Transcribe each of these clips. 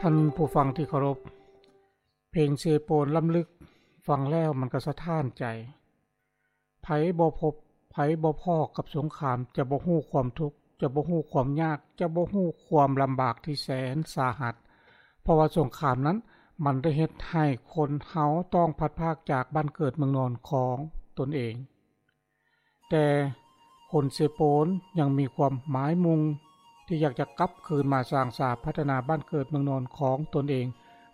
ທ່านผู้ฟังที่เคารพ เพลงเซโปนล้ำลึก ฟังแล้วมันก็สะท้านใจ ไผบ่พบ ไผบ่พ้อกับสงคราม จะบ่ฮู้ความทุกข์ จะบ่ฮู้ความยาก จะบ่ฮู้ความลำบากที่แสนสาหัส เพราะว่าสงครามนั้น มันได้เฮ็ดให้คนเฮาต้องพลัดพรากจากบ้านเกิดเมืองนอนของตนเอง แต่คนเซโปนยังมีความหมายมุ่งที่อยากจะกลับคืนมาสร้างสาพัฒนาบ้านเกิดเมืองนอนของตนเอง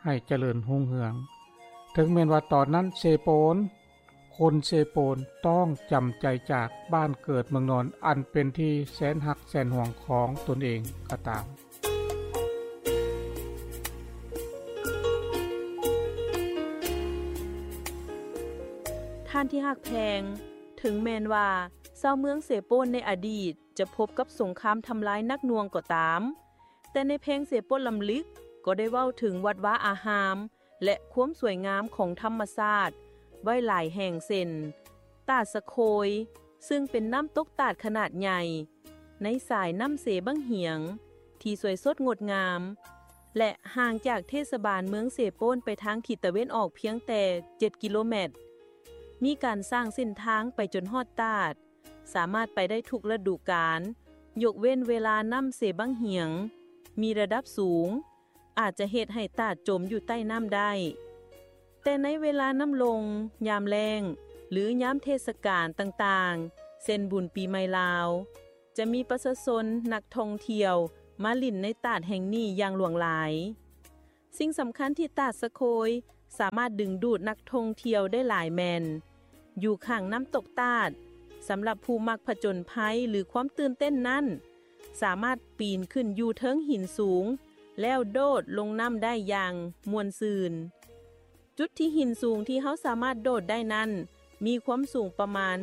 ให้เจริญรุ่งเรือง ถึงแม้นว่าตอนนั้นเซโปน คนเซโปนต้องจำใจจากบ้านเกิดเมืองนอนอันเป็นที่แสนฮักแสนหวงของตนเองก็ตาม ທ່ານທີ່ຮັກແພງ, ເຖິງແມ່ນວ່າຊາວເມືອງເຊໂປນໃນອະດີດຈະພົບກັບສົງຄາມທຳລາຍໜັກໜ່ວງກໍຕາມ, ແຕ່ໃນເພງເຊໂປນລຳລຶກກໍໄດ້ເວົ້າເຖິງວັດວາອາຮາມ ແລະ ຄວາມສວຍງາມຂອງທຳມະຊາດໄວ້ຫຼາຍແຫ່ງ ເຊັ່ນ ຕາດສະໂຄຍ ຊຶ່ງເປັນນ້ຳຕົກຕາດຂະໜາດໃຫຍ່ ໃນສາຍນ້ຳເຊບັ້ງຫຽງ ທີ່ສວຍສົດງົດງາມ ແລະ ຫ່າງຈາກເທດສະບານເມືອງເຊໂປນໄປທາງທິດຕາເວັນອອກພຽງແຕ່ເຈັດກິໂລແມັດ. ມີການສ້າງເສັ້ນທາງໄປຈົນຮອດຕາດ, ສາມາດໄປໄດ້ທຸກລະດູການ, ຍົກເວັ້ນເວລານ້ຳເຊບັ້ງຫຽງມີລະດັບສູງ, ອາດຈະເຮັດໃຫ້ຕາດຈົມຢູ່ໃຕ້ນ້ຳໄດ້. ແຕ່ໃນເວລານ້ຳລົງ, ຍາມແລ້ງ ຫຼື ຍາມເທດສະການຕ່າງໆ ເຊັ່ນ ບຸນປີໃໝ່ລາວ, ຈະມີປະຊາຊົນນັກທ່ອງທ່ຽວມາຫຼິ້ນໃນຕາດແຫ່ງນີ້ຢ່າງຫຼວງຫຼາຍ. ສິ່ງສຳຄັນທີ່ຕາດສະໂຄຍສາມາດດຶງດູດນັກທ່ອງທ່ຽວໄດ້ຫຼາຍແມ່ນ ຢູ່ຂ້າງນ້ຳຕົກຕາດ, ສຳລັບຜູ້ມັກຜະຈົນໄພ ຫຼື ຄວາມຕື່ນເຕັ້ນນັ້ນ, ສາມາດປີນຂຶ້ນຢູ່ເທິງຫີນສູງ ແລ້ວໂດດລົງນ້ຳໄດ້ຢ່າງມ່ວນຊື່ນ. ຈຸດທີ່ຫີນສູງທີ່ເຮົາສາມາດໂດດໄດ້ນັ້ນ ມີຄວາມສູງປະມານ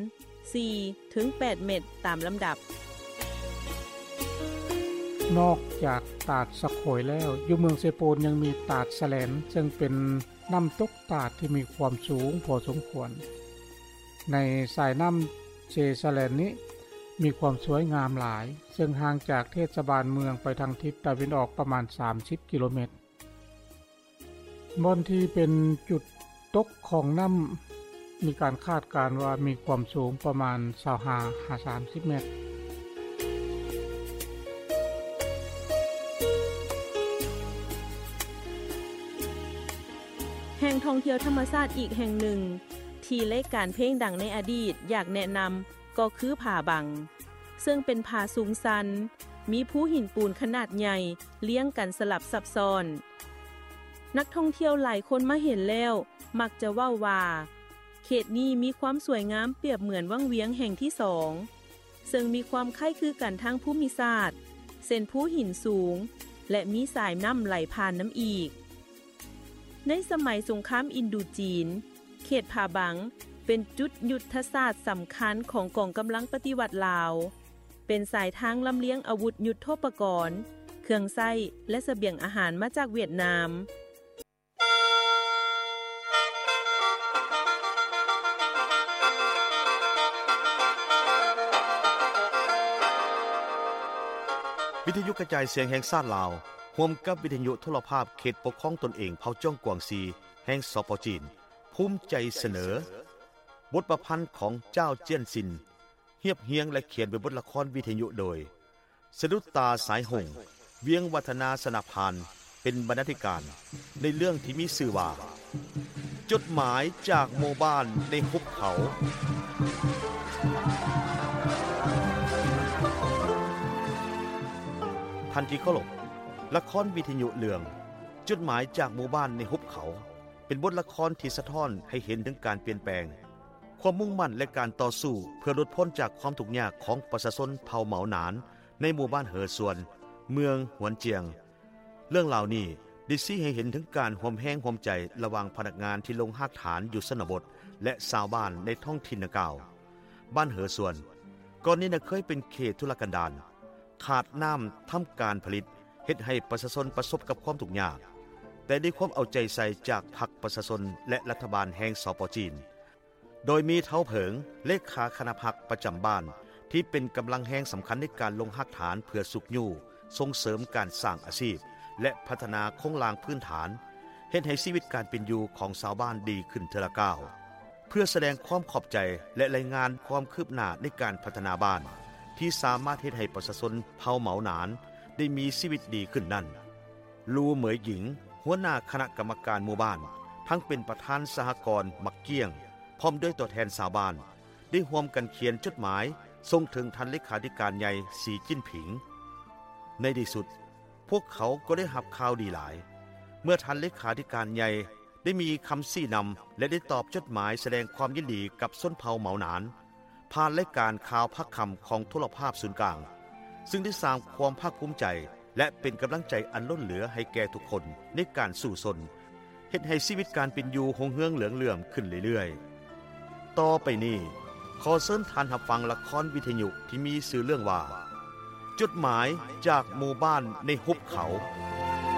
ສີ່ເຖິງແປດເມັດຕາມລຳດັບ. ນອກຈາກຕາດສະໂຄຍແລ້ວ, ຢູ່ເມືອງເຊໂປນຍັງມີຕາດສະແຫຼນ, ເຊິ່ງເປັນນ້ຳຕົກຕາດທີ່ມີຄວາມສູງພໍສົມຄວນ. ໃນສາຍນ້ຳເຊສະແຫຼນນີ້ ມີຄວາມສວຍງາມຫຼາຍ, ເຊິ່ງຫ່າງຈາກເທດສະບານເມືອງໄປທາງທິດຕາເວັນອອກປະມານສາມສິບກິໂລແມັດ. ບ່ອນທີ່ເປັນຈຸດຕົກຂອງນ້ຳ ມີການຄາດການວ່າມີຄວາມສູງປະມານຊາວຫ້າຫາສາມສິບແມັດ. ແຫຼ່ງທ່ອງທ່ຽວທຳມະຊາດອີກແຫ່ງໜຶ່ງ ທີ່ລາຍການເພງດັງໃນອະດີດຢາກແນະນຳ ກໍຄືຜາບັງ, ເຊິ່ງເປັນຜາສູງຊັນ, ມີພູຫີນປູນຂະໜາດໃຫຍ່ລຽງກັນສະຫຼັບຊັບຊ້ອນ. ນັກທ່ອງທ່ຽວຫຼາຍຄົນມາເຫັນແລ້ວ ມັກຈະເວົ້າວ່າ ເຂດນີ້ມີຄວາມສວຍງາມປຽບເໝືອນວັງວຽງແຫ່ງທີສອງ, ເຊິ່ງມີຄວາມຄ້າຍຄືກັນທາງພູມິສາດ, ເຊັ່ນ ພູຫີນສູງ ແລະ ມີສາຍນ້ຳໄຫຼຜ່ານນຳອີກ. ໃນສະໄໝສົງຄາມອິນດູຈີນ, ເຂດຜາບັງເປັນຈຸດຍຸດທະສາດສຳຄັນຂອງກອງກຳລັງປະຕິວັດລາວ, ເປັນສາຍທາງລຳລຽງອາວຸດຍຸດໂທປະກອນ, ເຄື່ອງໃຊ້ ແລະ ສະບຽງອາຫານມາຈາກຫວຽດນາມ. ວິທະຍຸກະຈາຍສຽງແຫ່ງຊາດລາວ ຮ່ວມກັບວິທະຍຸໂທລະພາບເຂດປົກຄອງຕົນເອງເຜົ່າຈອງກວາງຊີ ແຫ່ງ ສປ ຈີນ ພູມໃຈສະເໜີ ບົດປະພັນຂອງ ຈ້າວ ຈຽນຊິນ ຮຽບຮຽງ ແລະ ຂຽນເປັນບົດລະຄອນວິທະຍຸໂດຍ ສະດຸດຕາ ສາຍຫົງ, ວຽງວັດທະນາ ຊະນະພານ ເປັນບັນນາທິການ ໃນເລື່ອງທີ່ມີຊື່ວ່າ ຈົດໝາຍຈາກໝູ່ບ້ານໃນຫຸບເຂົາ. ທ່ານທີ່ເຄົາລົບ, ລະຄອນວິທະຍຸເລື່ອງ ຈົດໝາຍຈາກໝູ່ບ້ານໃນຫຸບເຂົາ ເປັນບົດລະຄອນທີ່ສະທ້ອນໃຫ້ເຫັນເຖິງການປ່ຽນແປງ, ຄວາມມຸ່ງໝັ້ນ ແລະ ການຕໍ່ສູ້ເພື່ອຫຼຸດພົ້ນຈາກຄວາມທຸກຍາກຂອງປະຊາຊົນເຜົ່າເໝົາໜານ ໃນໝູ່ບ້ານເຫີສວນ, ເມືອງຫວນຈຽງ. ເລື່ອງລາວນີ້ໄດ້ຊີ້ໃຫ້ເຫັນເຖິງການຮ່ວມແຮງຮ່ວມໃຈລະຫວ່າງພະນັກງານທີ່ລົງຮາກຖານຢູ່ຊົນນະບົດ ແລະ ຊາວບ້ານໃນທ້ອງຖິ່ນດັ່ງກ່າວ. ບ້ານເຫີສວນ ກ່ອນນີ້ນະເຄີຍເປັນເຂດທຸລະກັນດານ, ຂາດນ້ຳທຳການຜະລິດ, ເຮັດໃຫ້ປະຊາຊົນປະສົບກັບຄວາມທຸກຍາກ, ແຕ່ດ້ວຍຄວາມເອົາໃຈໃສ່ຈາກພັກປະຊາຊົນ ແລະ ລັດຖະບານແຫ່ງ ສປ ຈີນ, ໂດຍມີທ້າວເຜິງ ເລຂາຄະນະພັກປະຈຳບ້ານ ທີ່ເປັນກຳລັງແຮງສຳຄັນໃນການລົງຮາກຖານເພື່ອຊຸກຍູ້ສົ່ງເສີມການສ້າງອາຊີບ ແລະ ພັດທະນາໂຄງລ່າງພື້ນຖານ ເຮັດໃຫ້ຊີວິດການເປັນຢູ່ຂອງຊາວບ້ານດີຂຶ້ນເທື່ອລະກ້າວ. ເພື່ອສະແດງຄວາມຂອບໃຈ ແລະ ລາຍງານຄວາມຄືບໜ້າໃນການພັດທະນາບ້ານ ທີ່ສາມາດເຮັດໃຫ້ປະຊາຊົນເຜົ່າເໝົາໜານ ໄດ້ມີຊີວິດດີຂຶ້ນນັ້ນ, ລູ ເໝີຍ ຫຍິງ ຫົວໜ້າຄະນະກຳມະການໝູ່ບ້ານ ທັງເປັນປະທານສະຫະກອນໝາກກ້ຽງ ພ້ອມດ້ວຍຕົວແທນຊາວບ້ານ ໄດ້ຮ່ວມກັນຂຽນຈົດໝາຍສົ່ງເຖິງທ່ານເລຂາທິການໃຫຍ່ ສີ ຈິ້ນຜິງ. ໃນທີ່ສຸດ, ພວກເຂົາກໍໄດ້ຮັບຂ່າວດີຫຼາຍ ເມື່ອທ່ານເລຂາທິການໃຫຍ່ໄດ້ມີຄຳຊີ້ນຳ ແລະ ໄດ້ຕອບຈົດໝາຍສະແດງຄວາມຍິນດີກັບຊົນເຜົ່າເໝົາໜານ ຜ່ານລາຍການຂ່າວພາກຄ່ຳຂອງໂທລະພາບສູນກາງ, ຊຶ່ງໄດ້ສ້າງຄວາມພາກພູມໃຈ ແລະ ເປັນກຳລັງໃຈອັນລົ້ນເຫຼືອໃຫ້ແກ່ທຸກຄົນໃນການສູ້ຊົນ ເຮັດໃຫ້ຊີວິດການເປັນຢູ່ຮຸ່ງເຮືອງເຫຼືອງເຫຼື້ອມຂຶ້ນເລື້ອຍໆ. ຕໍ່ໄປນີ້, ຂໍເຊີນທ່ານຮັບຟັງລະຄອນວິທະຍຸທີ່ມີຊື່ເລື່ອງວ່າ ຈົດໝາຍຈາກໝູ່ບ້ານໃນຫຸບເຂົາ.